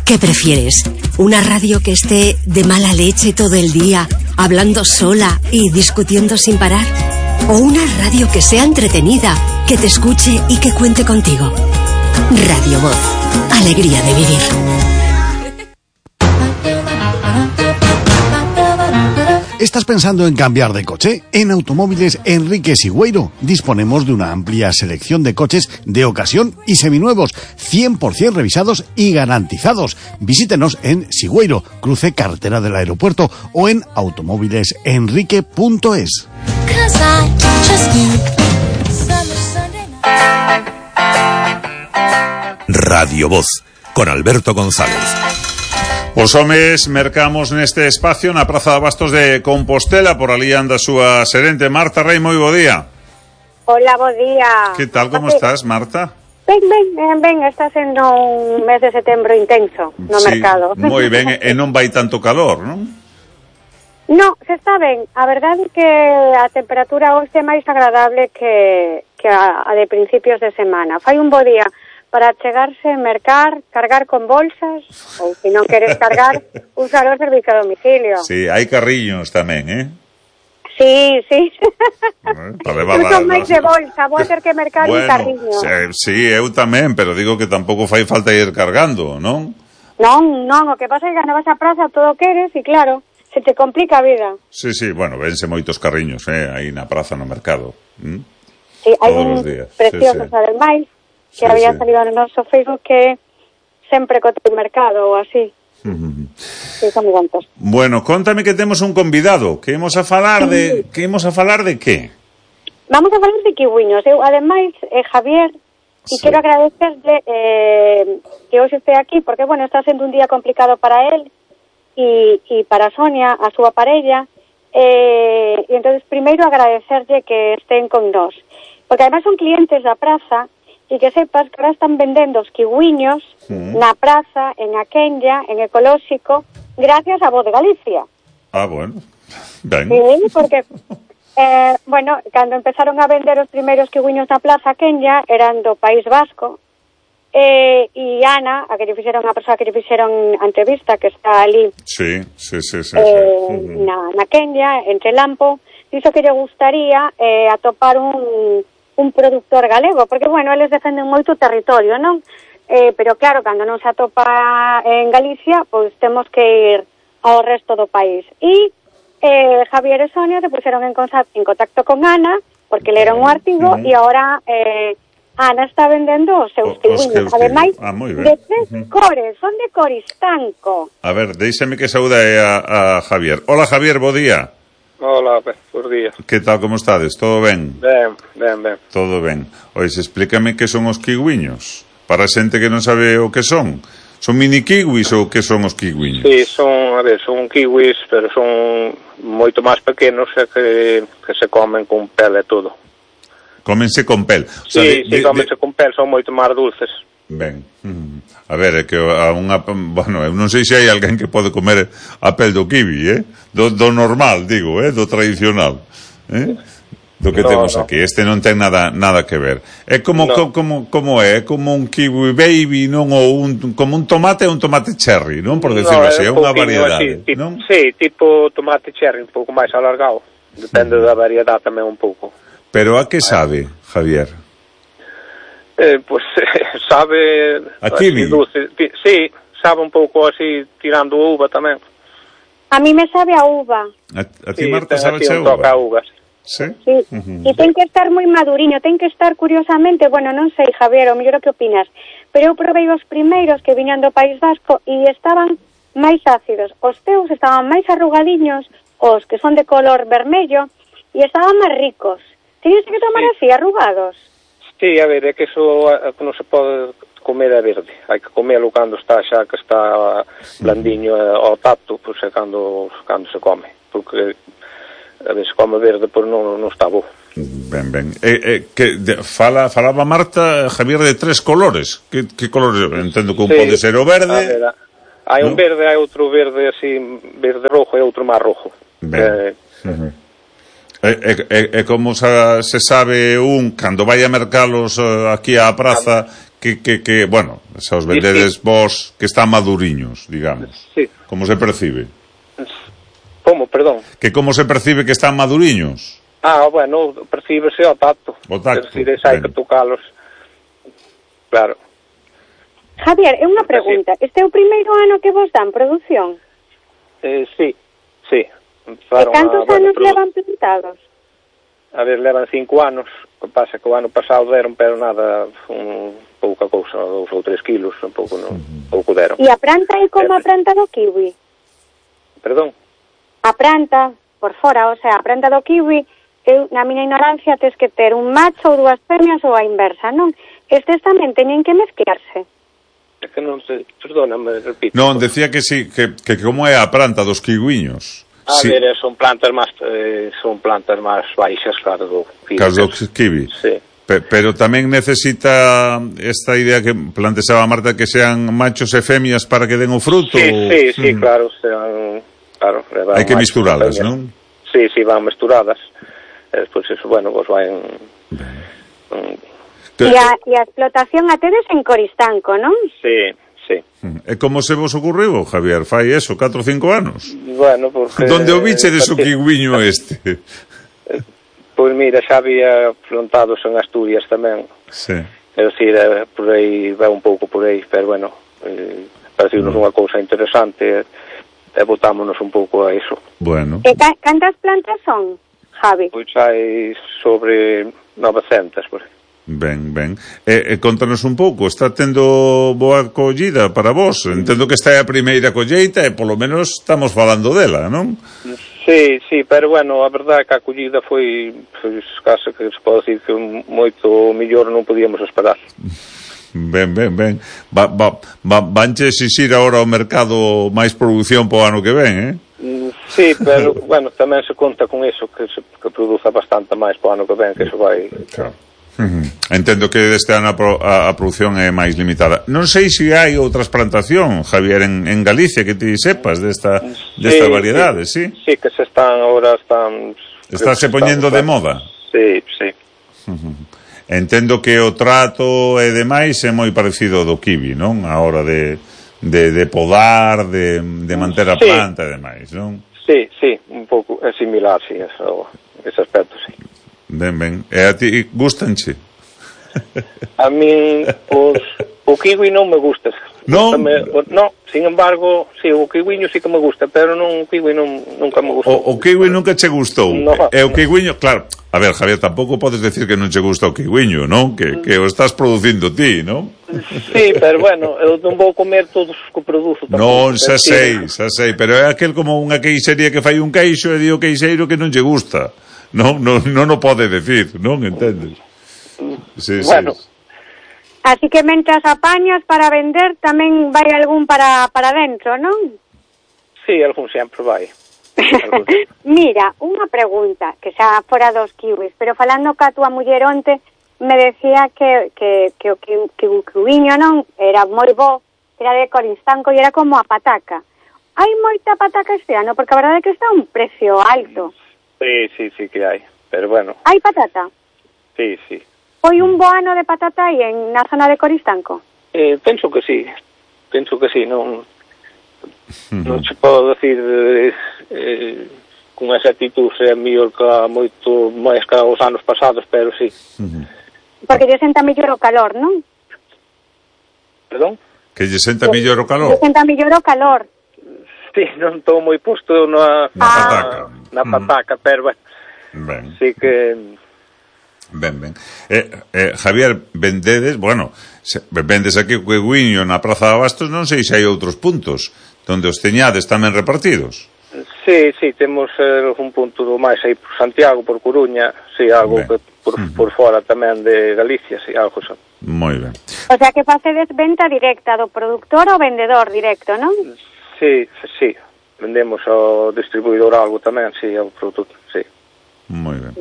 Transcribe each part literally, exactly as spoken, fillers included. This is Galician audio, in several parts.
¿Qué prefieres? ¿Una radio que esté de mala leche todo el día, hablando sola y discutiendo sin parar? ¿O una radio que sea entretenida, que te escuche y que cuente contigo? Radio Voz. Alegría de vivir. ¿Estás pensando en cambiar de coche? En Automóviles Enrique Sigüeiro disponemos de una amplia selección de coches de ocasión y seminuevos, cien por ciento revisados y garantizados. Visítenos en Sigüeiro, cruce carretera del aeropuerto, o en automóviles enrique punto es. Radio Voz, con Alberto González. Os homes mercamos neste espacio na Praza de Abastos de Compostela, por ali anda a súa serente Marta Rei. Moi bo día. Hola, bo día. Que tal, como estás, Marta? Ben, ben, ben, ben, está sendo un mes de setembro intenso no sí, mercado. Moi ben, e non vai tanto calor, non? No, se está ben. A verdade é que a temperatura hoxe é máis agradable que, que a, a de principios de semana. Fai un bo día para chegarse, mercar, cargar con bolsas, ou se non queres cargar, usar o servicio a domicilio. Sí, hai carriños tamén, eh? Sí, sí. Bueno, para levar eu son máis de bolsa, vou ter que mercar bueno, un carriño. Sí, eu tamén, pero digo que tampouco fai falta ir cargando, non? Non, non, o que pasa é que cando vas a praza todo queres e claro, se te complica a vida. Sí, sí, bueno, vense moitos carriños, eh, aí na praza, no mercado. ¿Mm? Sí, hai un preciosos, sí, sí. Ademais, que sí, había sí. salido no noso Facebook que sempre co teu mercado ou así. Uh-huh. Sí, son moi bontos. Bueno, contame que temos un convidado, que imos a falar sí. de que imos a falar de que? Vamos a falar de kiwiños. Eu, ademais, eh, Javier, e sí. quero agradecerle eh, que hoxe este aquí, porque, bueno, está sendo un día complicado para él e, e para Sonia, a súa parella, eh, e entonces primeiro agradecerlle que estén con nós, porque ademais son clientes da praza. E que sepas que ahora están vendendo os kiwiños mm. na praza, en Aquenlla, en Ecolóxico, gracias a Voz de Galicia. Ah, bueno. Ben. Sí, porque, eh, bueno, cando empezaron a vender os primeiros kiwiños na plaza Aquenlla, eran do País Vasco, eh, e Ana, a que lle fixeron, a persoa que lle fixeron a entrevista, que está ali, sí, sí, sí, sí, eh, sí. na, na Aquenlla, entre Lampo, dixo que lle gustaría eh, atopar un... un productor galego, porque, bueno, eles defenden moito o territorio, non? Eh, pero, claro, cando non se atopa en Galicia, pois temos que ir ao resto do país. E eh, Javier e Sonia se puseron en, en contacto con Ana, porque leron o artigo, e uh-huh. agora eh, Ana está vendendo os seus kiwiños. Ademais, ah, de tres uh-huh. cores, son de Coristanco. A ver, deixame que saúde a, a Javier. Hola, Javier, bo día. Hola, por día. Que tal, como estades? Todo ben? Ben, ben, ben. Todo ben. Ois, explícame que son os kiwiños, para a xente que non sabe o que son. Son mini kiwis ou que son os kiwiños? Sí, son, a ver, son kiwis, pero son moito máis pequenos e que, que se comen con pel e todo. Cómense con pel? O sea, sí, de, sí, de, cómense de... con pel, son moito máis dulces. Ben. Mm. A ver, é que a unha... Bueno, eu non sei se hai alguén que pode comer a pel do kiwi, eh? Do, do normal, digo, eh? Do tradicional, eh? Do que no, temos no. aquí. Este non ten nada nada que ver. É como, no. como, como é? É como un kiwi baby, non? Ou un, como un tomate ou un tomate cherry, non? Por decirlo no, así, é unha variedade, así, non? Sí, tipo tomate cherry, un pouco máis alargado. Depende mm. da variedade tamén un pouco. Pero a que sabe, Javier? Eh, pues eh, sabe a kiwi. Dulce. Sí, sabe un pouco así tirando uva tamén. A mí me sabe a uva. A, a ti, sí, Marta, sabe a uva? Toca a uvas. Sí. Sí. Uh-huh. E ten que estar moi maduriño, ten que estar curiosamente, bueno, non sei, Javier, o mellor o que opinas, pero eu probei os primeiros que viñan do País Vasco e estaban máis ácidos. Os teus estaban máis arrugadiños, os que son de color vermello, e estaban máis ricos. Tienes que tomar sí. así, arrugados. Sí, a ver, é que eso non se pode comer a verde. Hai que comelo cando está xa que está blandiño ao tacto, pois é cando, cando se come. Porque a ver, se come verde, pois non, non está bo. Ben, ben. Eh, eh, que de, fala, falaba Marta, Javier, de tres colores. Que, que colores? Entendo que un sí, pode ser o verde. Ver, hai un ¿no? verde, hai outro verde así, verde rojo e outro máis rojo. Ben. Eh, uh-huh. É, é, é como se, se sabe un, cando vai a mercalos uh, aquí á praza, que, que, que bueno, xa os vendedes sí, sí. vos que están maduriños, digamos. Sí. Como se percibe? Como, perdón? Que como se percibe que están maduriños? Ah, bueno, percíbese ao tacto. O tacto. Es decir, hai que tocalos. Claro. Javier, é unha pregunta. Este é o primeiro ano que vos dan produción? Eh, sí, sí. E cantos anos levan plantados? A ver, levan cinco anos. O que pasa que o ano pasado deron, pero nada, un pouca cousa, dous ou tres kilos, un pouco, non, pouco deron. E a planta é como a planta do kiwi? Perdón? A planta, por fora, o sea, a planta do kiwi, eu, na miña ignorancia, tes que ter un macho ou dúas femias ou a inversa, non? Estes tamén teñen que mezclarse. É que non se... Perdóname, repito. Non, decía que sí, que, que como é a planta dos kiwiños. A sí. ver, son plantas máis eh, son plantas máis baixas, claro, do kiwi. Cas do kiwi. Sí. Pe, pero tamén necesita esta idea que plantexaba Marta, que sean machos e femias para que den o fruto. Sí, ou... sí, sí, mm. claro, sean, claro, hai que misturalas, non? Sí, sí, van misturadas. E despois eso, bueno, vos vai en... Um, e, a, e a explotación a tedes en Coristanco, non? Sí, sí. E como se vos ocurriu, Javier? Fai eso, catro ou cinco anos? Bueno, porque... Donde o bichedes o kiwiño este? Pois mira, xa había plantados en Asturias tamén. Sí. É dicir, por aí, vai un pouco por aí, pero bueno, eh, pareceu-nos mm. unha cousa interesante e botámonos un pouco a iso. Bueno. E ca cantas plantas son, Javi? Pois hai sobre novecentas, por aí. Ben, ben. E, e contanos un pouco, está tendo boa acollida para vos? Entendo que esta é a primeira colleita e polo menos estamos falando dela, non? Sí, sí, pero bueno, a verdade é que a acollida foi, pois, case que se pode decir que moito mellor non podíamos esperar. Ben, ben, ben. Va, va, va, vanche exixir agora ao mercado máis produción po ano que ven, eh? Sí, pero, bueno, tamén se conta con iso, que se que produza bastante máis po ano que ven, que iso vai... Claro. Uh-huh. Entendo que deste ano a, pro, a, a produción é máis limitada. Non sei se hai outras plantación, Javier, en, en Galicia que ti sepas desta, desta sí, variedade, sí? Sí, que se están agora están... Está se poñendo de moda? Sí, sí. Uh-huh. Entendo que o trato e demais é moi parecido ao do kiwi, non? A hora de, de, de podar, de, de manter a planta sí. e demais, non? Sí, sí, un pouco é similar, sí, eso, ese aspecto, sí. Ben, ben. E a ti gustanche? A mí, os, o kiwi non me gusta. Non? Non, sin embargo, sí, o kiwiño sí que me gusta, pero non, o kiwi non, nunca me gustou. O, o kiwi nunca che gustou? No. E o kiwiño, claro, a ver, Javier, tampouco podes decir que non che gusta o kiwiño, non? Que, que o estás producindo ti, non? Sí, pero bueno, eu non vou comer todos os que produzo. Non, xa sei, xa sei, pero é aquel como unha queixería que fai un queixo e di o queixeiro que non lle gusta. Non, non, non o pode decir, non entendes? Sí, bueno. Sí. Así que mentras apañas para vender, tamén vai algún para, para dentro, non? Sí, algún sempre vai. Mira, unha pregunta, que xa fora dos kiwis, pero falando ca túa muller onte, me decía que, que, que o que, que o kiwiño non era moi bo, era de Coristanco e era como a pataca. Hai moita pataca este ano, porque a verdade é que está a un precio alto. Sí, sí, sí que hai, pero bueno. Hai patata? Sí, sí. Foi un bo ano de patata aí en na zona de Coristanco? Eh, penso que sí, penso que sí, non non se pode decir eh, eh, con exactitud se é mellor que moito máis que os anos pasados, pero sí. Porque lle senta mellor o calor, non? Perdón? Que lle senta mellor o calor? Lle senta mellor o calor. Sí, non estou moi posto na, na ah. pataca, na pataca, mm. pero bueno, ben. Sí que... Ben, ben. Eh, eh, Javier, vendedes, bueno, se, vendes aquí o kiwiño na Praza de Abastos, non sei se hai outros puntos donde os teñades tamén repartidos. Sí, sí, temos eh, un punto do máis aí por Santiago, por Coruña, sí, algo ben. que por, uh-huh. por fora tamén de Galicia, sí, algo xa. Moi ben. O sea que facedes venta directa do productor ao vendedor directo, non? Sí, sí, vendemos ao distribuidor algo tamén, sí, ao produto, sí. Moi ben.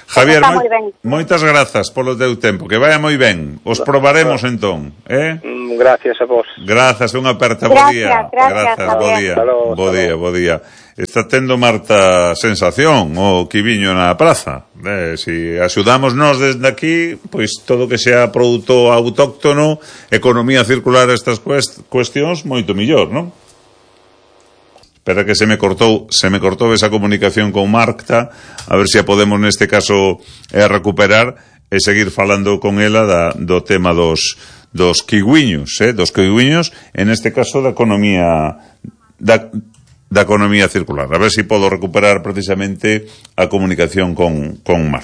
Javier, moi, ben. moitas grazas polo teu tempo, que vaya moi ben. Os probaremos entón, eh? Gracias a vos. Grazas, unha aperta, bo día. Gracias, gracias, bo día. Bo día, bo día. está tendo Marta sensación o quiviño na praza. Eh, si axudamos nós desde aquí, pois todo que sea produto autóctono, economía circular, estas cuestións, moito millor, non? Espera que se me cortou, se me cortou esa comunicación con Marta, a ver se a podemos neste caso eh, recuperar e seguir falando con ela da, do tema dos dos kiwiños, eh, dos kiwiños, en este caso da economía da, da economía circular. A ver se podo recuperar precisamente a comunicación con, con Marta.